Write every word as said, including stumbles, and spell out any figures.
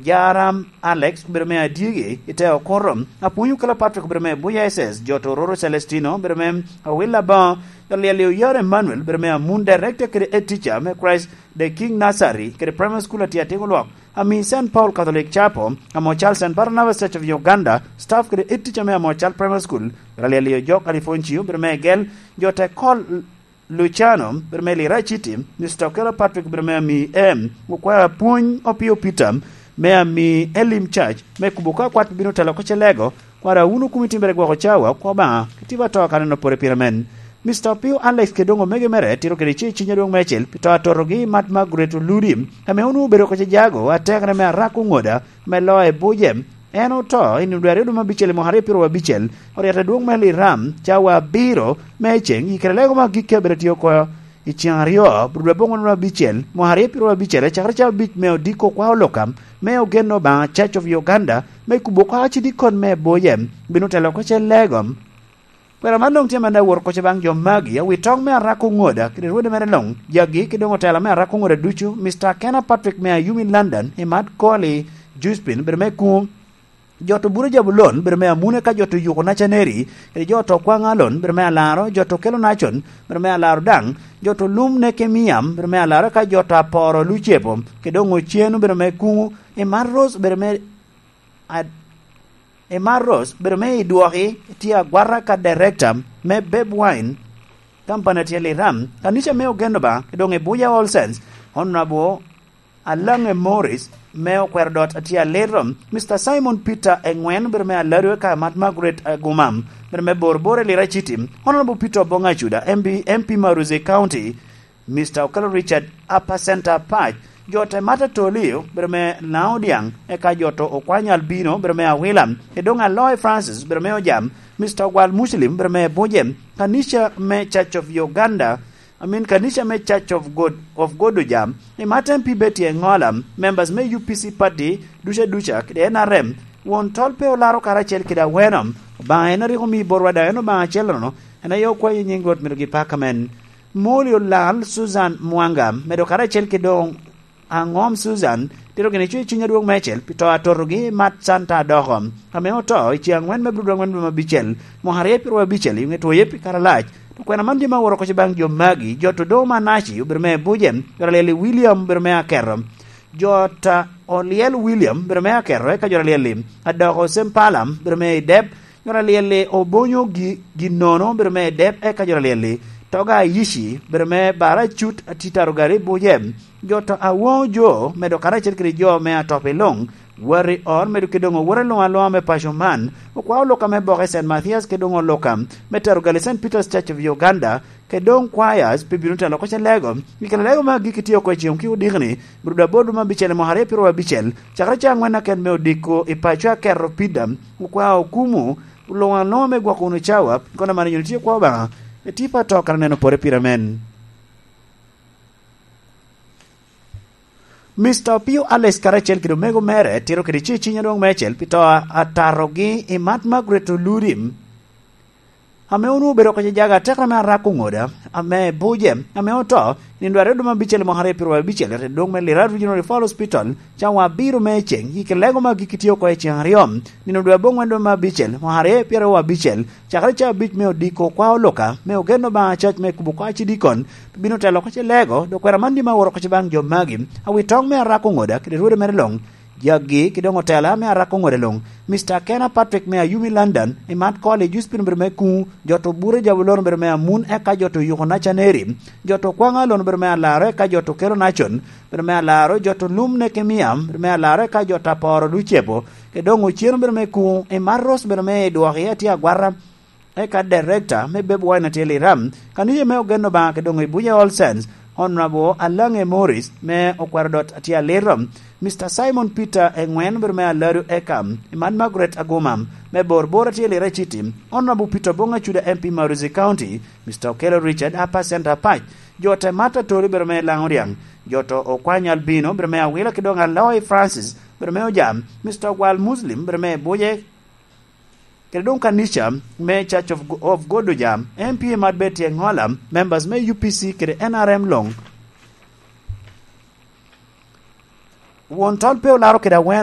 Jaram Alex, obedo me Adyegi i te Okoro. Apwony Okelo Patrick, obedo me Buya S S. Joto Roro Celestino, obedo me Awil Aboŋo. Jot Lyel Oyar Emmanuel, obedo me Amun, Director kede Head Teacher me Christ the King Nursery kede Primary School, Atiating Olwok. Ami Saint Paul Catholic Chapel, Amocal Saint Barnabas Church of Uganda, staff kede Head Teacher me Amocal Primary School. Jot Lyel Ojok Alifoncio, obedo me Gel. Jote Kol Luciano, obedo me Lira City, Mister Okelo Patrick, obedo me Ami M, okwero apwony Opio Peter, me Ami Elim Church, me kubo ka kwat bino telo oko ce lego, kwara wunu kumi timbere gwoko cawa, okwo Obaŋa, kitiba to ka neno pore pire men. Mister Opio Alex kede doŋ omege mere, tiro kede ce ciny adwoŋ meicel, pi to atotogi Mat Margaret Oludi, ame onwoŋo obedo oko ce jago, atekere me Arak Oŋoda, me Loa i Buje, En oto i nino dwe aryo dwe me abicel i mwaka aryo pyeraryo abicel, oryet adwoŋ me Liram, cawa abiro me ceŋ, i kare lego me agikki abedo tye oko i ceŋ aryo, bro dwe aboŋwen dwe me abicel, mwaka aryo pyeraryo abicel, acakere cawa abic me odiko kwa oloka, me ogen Obaŋa Church of Uganda, me kubo oko acidikon me Boye, bino telo oko ce lego. Kwena man doŋ tye amannoŋ awot oko ce baŋ jo magi, awi toŋ me Arak Oŋoda, kede rwode mere luŋ, jagi, kede doŋ otela me Arak Oŋoda ducu, Mister Kena Patrick me Ayumi London, i Mat Koli, Juspin, bedo me kuŋ, Joto Bura Jabulon, bedo me Amune ka joto Yuko Nacaneri, kede joto Kwaŋ Alon, bedo me Alaro, joto Kelo Nacon, bedo me Alaro daŋ, joto Lum Nekemiam, bedo me Alaro ka joto Aporo Lucebo, kede doŋ Ocenu, bedo me kuŋu, i Mar Ros, bedo me Ad-, Emma Rose, bedo me i dwoki, tye agwata ka director me Beb Wine Company, tye Liram, kanica me Ogen Obaŋa, doŋ i Buya All Saints, Honorable Alange Morris, me okwero dot, tye Aliro, Mister Simon Peter Engwen, bedo me Alado, eka Mat Margaret Agumam, bedo me Bor Bor i Lira City, Honorable Peter Obonga Acuda, M B, M P Maruzi County, Mister Okelo Richard, Upper Center Pac, jo te Mata Tolio, bedo me Laodiang, eka jo to Okwany Albino, bedo me Awila, Edong Aloy Francis, bedo me Ojam, Mister Ogwal Muslim, bedo me Buje, kanica me Church of Uganda, I mean, kanica me Church of God, of God Ojam, i Mata M P Betty Engola, members me U P C party, duca duca, kede N R M, won tol pe olaro karacel kede aweno, Obaŋa en a rik omi borwa daŋ en Obaŋa acel-lono, en aye okwayo i nyiŋ Rwot myero gipaka men. Moli olal Susan Mwanga, medo karacel ki doŋ aŋom Susan, tito gini cuc cuny adwoŋ meicel, pi to atotogi Mat Santa Adoko, ame oto i ceŋ aŋwen me Abril dwe aŋwen dwe me abicel, mwaka aryo pyeraryo abicel, i ŋe twoye pi kare alac. To kwena man tye ma aworo oko ce baŋ jo magi, jo to doŋ Manaci, obedo me Buje, jo alyel i William, obedo me Aketo, jo ta Olyel William, obedo me Aketo, eka jo alyel i Adoko Sempala, obedo me i Dep, jo alyel i Obonyo Gi-, Ginono, obedo me i Dep, eka jo alyel i Toga Ayici, obedo me Bara Cut, Atitaro Gari Buje, jo to Awoŋo Jo, medo karacel kede jo me Atop i Luŋ, Wari Or, medo kede doŋ owote luŋ aluŋa me paco man, okwao Luka me Boke Saint Mathias, kede doŋ Luka me Tero Gali Saint Peter's Church of Uganda, kede doŋ choirs pe bino telo oko ce lego. I kare lego me agikki tye oko i ceŋ ki odikni, Bruda Bodo me abicel i mwaka aryo pyeraryo abicel, cakere ca aŋwen aken me odiko i paco Aketo Pida, okwao okumu, luŋ aluŋa me gwoko wunu cawa, kono man nyuno tye kwo Obaŋa, etipa to kara neno pore pire men. Mister Opio Alex karacel kede omego mere tito kede ce ciny adwoŋ meicel pi to a-, atatogi i Mat Margaret Oludim, ame onwoŋo obedo oko ce jaga atekere me Arak Oŋoda, ame Buje, ame oto, i nino dwe aryo dwe me abicel i mwaka aryo pyeraryo abicel, i dwoŋ me Lira Regional Referral Hospital, cawa abiro me ceŋ, i kare lego me agikki tye oko i ceŋ aryo, nino dwe aboŋwen dwe me abicel, mwaka aryo pyeraryo abicel, cakere ca abic me odiko kwa oluka, me ogen Obaŋa cac me kubo kwa cidikon, bino telo oko ce lego, dok kwena man tye ma aworo oko ce baŋ jo magi, awi toŋ me Arak Oŋoda, kede rwode mere luŋ, jagi, kede doŋ otela me Arak Oŋoda luŋ, Mister Kena Patrick me Ayumi London, i Mat Koli, Juspin obedo me kuŋu, jo to Bure Jabulon obedo me Amun, eka jo to Yuko Nacaneri, jo to Kwaŋ Alon obedo me Alaro, eka jo to Kelo Nacon, obedo me Alaro, jo to Lum Nekemiam, obedo me Alaro, eka jo to Aporo Lucebo, kede doŋ Ocen obedo me kuŋu, i Mat Ros obedo me i dwoki, atye agwata, eka director me Beb Wine atye Liram, kanica me ogen Obaŋa kede doŋ i Buya All Saints, Honorable Alange Morris me okwero dot atye Aliro, Mister Simon Peter Engwen obedo me Alado, eka i Mat Margaret Aguma me Bor Bor atye Lira City, Honorable Peter Bonga Cuda M P Maruzi County, Mister Okelo Richard Upper Center Pac, jo te Mata Toli obedo me Laŋo Riaŋ, jo to Okwany Albino obedo me Awila kede doŋ Aloy Francis obedo me Ojam, Mister Ogwal Muslim obedo me Buje, kede doŋ kanica me Church of Go-, of God Ojam, M P Mat Betty Engola, members me U P C kede N R M luŋ. Won tol pe olaro kede aweno.